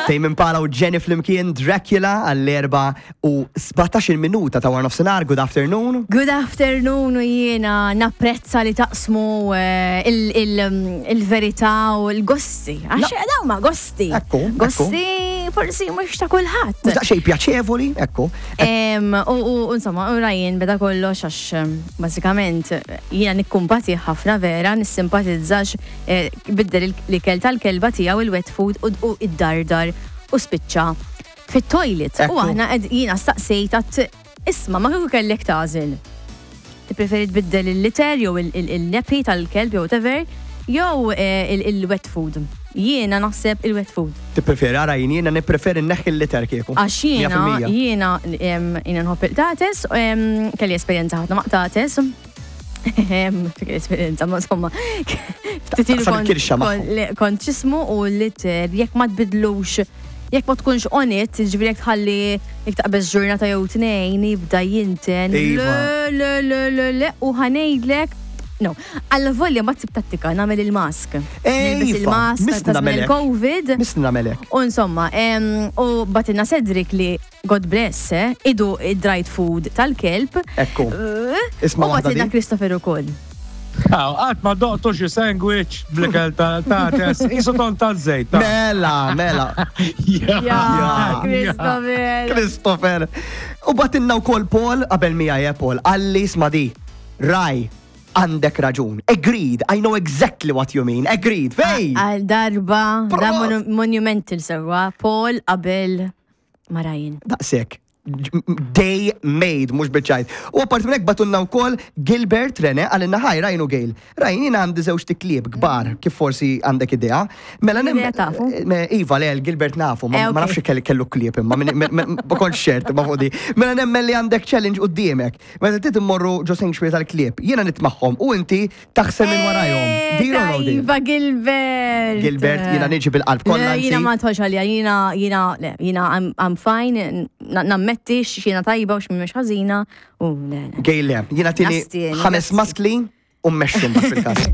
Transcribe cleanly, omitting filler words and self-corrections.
Tame Impala u Jenny flimkien Dracula għall-4 u 17 minuta ta' war nofsinhar. Good afternoon. Good afternoon u jiena napprezza li taqsmu eh, il-verità u l-gosti. Għax dawn ma gosti. Ekku, ekku. Gosti forsi mhux ta' kulħadd. Mhux daqsxejn pjaċevoli, ekku. U insomma, u Ryan beda kollox għax bażikament jiena nikkumpati ħafna vera, nissimpatizza Eh, biddel l-ikel tal-kelba tiegħu il-wet food u id-dardar u spiċċa fit-toilet. U aħna jiena staqsejt għat isma' ma kieku kellek tagħżel. Tippreferi tbiddel il-liter jew il-nepi tal-kelb jew whatever, jew eh, il-wet food. Jiena naħseb il-wet food. Tippreferi, ara jien jiena nippreferi nneħħi l-liter kieku. Għax jiena jiena jiena nħobb il-qtates, kelli esperjenza ħafna ma' qtates. Esperienza, ma insomma. Ftit ilu kont ċismu u l-liter, jekk ma tbidlux, jekk ma tkunx on it, ġifieri jekk tħalli jekk taqbeż ġurnata jew tnejn jibda jinten. Iva. Le, le, le, le, u ħanejdlek. No, għalla volja ma tsib tattika nagħmel il-mask. Nilbes Iva, il-mask misni ta' żmien nagħmelek. il-Covid. Misni nagħmelek. U insomma, u batilna Cedric li God bless, eh? Idu id-dried food tal-kelb. Ekku. Eh, Isma' U waħda batilna di. Christopher ukoll. Aw, qatt ma doqtu xi sandwich bl-ikel ta' tates, qisu ton ta' żejt. Mela, mela. Ja, Ja, Christopher. Christopher. U batinna wkoll Paul qabel miegħi eh, Paul, qalli isma' di. Raj, għandek raġun. Agreed, I know exactly what you mean. Agreed, fej! Għal darba, da Prost. monu- monumental sewa, Paul qabel ma' Ryan. Daqshekk. Day made, mhux biċ-ċajt. U apparti minn hekk batunna wkoll Gilbert Rene għalinna ħaj Ryan u Gail. Ryan jiena għandi żewġ tiklieb kbar kif forsi għandek idea. Mela nem. Idea tafu. Eh, Iva, le, Gilbert nafu, ma Eh, ma ok. nafx kellu kellu klieb imma ma kontx ċert ma fuq di. Mela nemmen li għandek challenge quddiemek. Meta trid immorru ġo sanctuary tal-klieb, jiena nitmagħhom u inti taħsel minn warajhom. Deal or no deal? Eh, Iva Gilbert. Gilbert, jiena niġi bil-qalb kollha. Le, Jiena anzi. ma tħolx għalija, jiena, jiena, le, jiena, I'm, I'm fine, na- nammetti x'jiena tajba u x'mhux ħażina, u le, le. Gejle, jiena tini Nasti, ħames nasti. maskli u mmexxu mbagħad fil-każ.